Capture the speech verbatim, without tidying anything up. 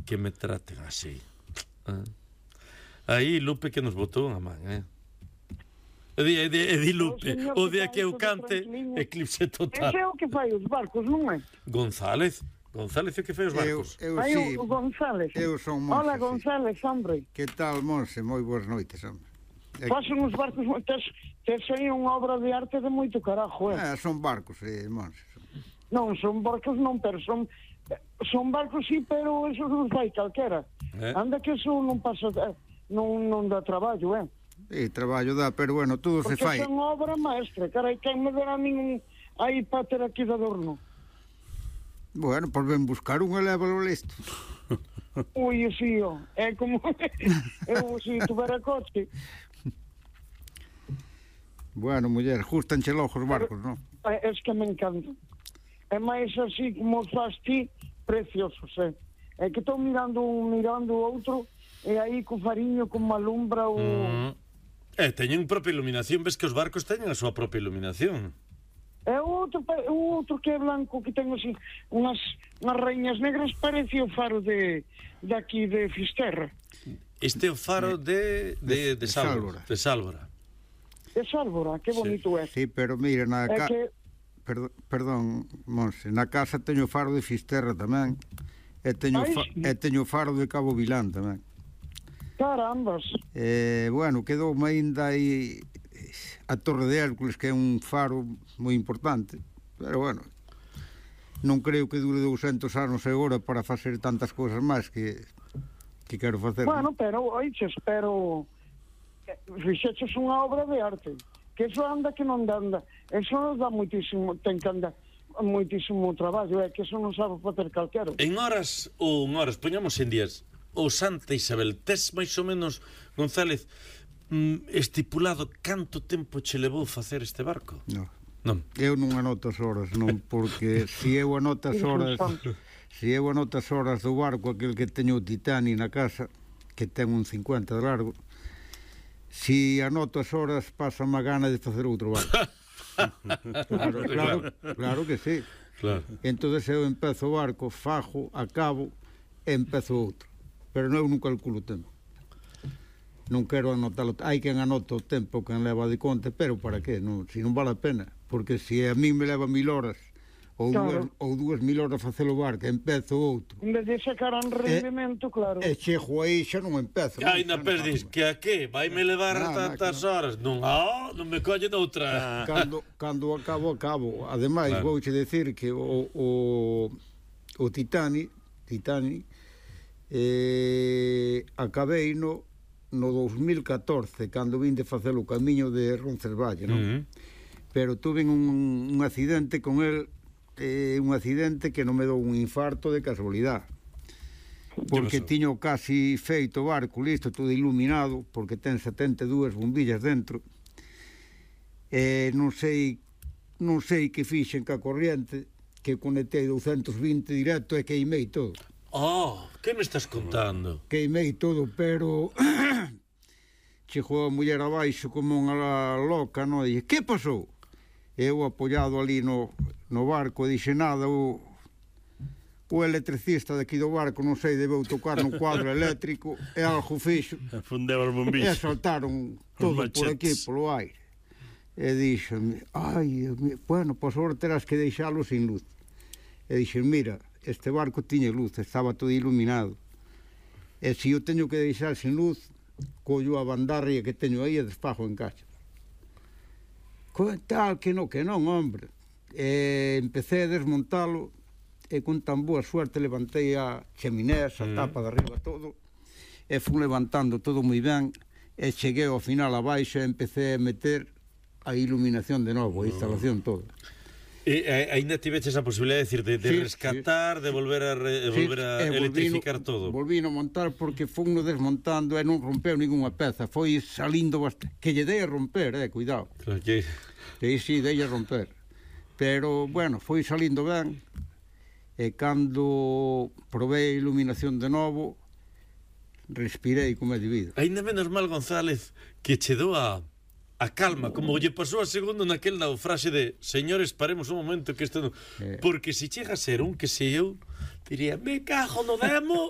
que me traten así. Ah. Aí Lupe que nos botou unha man, eh? E di, e di, e di Lupe, o día que eu cante, eclipse total. Ese é o que fai os barcos, non é? González, González é o que fai os barcos. Eu, eu Ai, sí, o González. eu son Monse. Hola, sí. González, hombre. Que tal, Monse? Moi boas noites, hombre. É... Pasan os barcos, tes, tes aí unha obra de arte de moito carajo, eh? Ah, son barcos, eh, Monse. Non, son barcos non, pero son son barcos sí, pero eso non fai calquera. Eh? Anda que eso non pasa, eh, non, non dá traballo, eh? Sí, traballo dá, pero bueno, todo Porque se fai. son obra maestra, carai, quen me dera ningún aí para ter aquí de adorno. Bueno, pois ven buscar un e lévalo listo. Ui, sí, ó, é como eu se tuvera coche. Bueno, muller, gustanche logo os barcos, non? É, es que me encanta. É máis así como faz ti, preciosos, eh? É que estou mirando un mirando o outro e aí co fariño como alumbra o... Mm. Eh, teñen propia iluminación, ves que os barcos teñen a súa propia iluminación. É o outro, o outro que é blanco, que ten así unhas, unhas reiñas negras, parece o faro de, de aquí de Fisterra. Este é o faro de, de, de, de Sálvora. De Sálvora. De Sálvora, que bonito é. Sí, pero mira, na É ca... que... Perdón, perdón, Monse, na casa teño o faro de Fisterra tamén. E teño, Ai, fa... sí. e teño o faro de Cabo Vilán tamén. Carambas. Eh, bueno, quedou aínda aí a Torre de Hércules, que é un faro moi importante, pero bueno, non creo que dure douscentos anos agora para facer tantas cousas máis que que quero facer. Bueno, pero, oiches, pero fixeches unha obra de arte, que eso anda que non anda, eso dá moitísimo, ten que andar moitísimo traballo, é que eso non sabe facer calquero. En horas ou en horas, poñamos en días, o Santa Isabel, tes máis ou menos, González, estipulado canto tempo che levou facer este barco? Non. Non. Eu non anoto as horas, non, porque se eu anoto as horas, se eu anoto as horas do barco, aquel que teño o Titani na casa, que ten un cincuenta de largo, se anoto as horas, pasa má gana de facer outro barco. claro, claro, claro que sí. Claro. Entonces eu empezo o barco, fajo, acabo, e empezo outro. Pero non eu non calculo o tempo. Non quero anotalo, hai quen anota o tempo, quen leva de conta, pero para qué? Non, se non vale a pena, porque se a mí me leva mil horas ou, claro. dúas, ou dúas mil horas facer o barco, empezo outro. En vez de sacar un rendimento, e, claro. E chego aí xa non empezo. Ai, na perdis, que a que? Vai me levar nah, tantas nah, horas? Non, ah, non me colle doutra. Cando, cando acabo, acabo. Ademais, claro. Vouche decir que o, o, o Titani, Titani, eh, acabei no no dos mil catorce, cando vin de facer o camiño de Roncesvalles, non? Uh -huh. Pero tuve un, un accidente con el, eh, un accidente que non me dou un infarto de casualidade, porque tiño casi feito o barco listo, todo iluminado, porque ten setenta e dúas bombillas dentro, e non sei non sei que fixen ca corriente, que conectei doscientos vinte directo e queimei todo. Oh, que me estás contando? Queimei todo, pero chegou a muller abaixo como unha loca, non? E dixo, que pasou? Eu apoiado ali no, no barco, dixe nada, o, o electricista daqui do barco, non sei, debeu tocar no cuadro eléctrico, e algo fixo. Fundeu as bombillas. E saltaron todo por aquí, polo aire. E dixo, ai, bueno, pois agora terás que deixalo sin luz. E dixo, mira, este barco tiña luz, estaba todo iluminado, e se eu teño que deixar sin luz, collo a bandarria que teño aí e desfajo en caixa. Tal que non, que non, hombre. E empecé a desmontalo, e con tan boa suerte levantei a cheminea, a tapa de arriba todo, e fui levantando todo moi ben, e cheguei ao final abaixo e empecé a meter a iluminación de novo, a instalación toda. E aínda tiveches a posibilidade de decir de, de sí, rescatar, sí. de volver a, re, de sí, volver a electrificar volvino, todo. Volvino a montar porque foi no desmontando e non rompeu ninguna peza, foi salindo bastante, que lle dei a romper, eh, cuidado. Claro que sí, sí, dei a romper. Pero bueno, foi salindo ben. E cando probei a iluminación de novo, respirei como é debido. Aínda menos mal, González, que che dou a a calma, como lle pasou a segundo naquel naufraxe de señores, paremos un momento que isto non... Eh. Porque se chega a ser un que se eu diría, me cajo no demo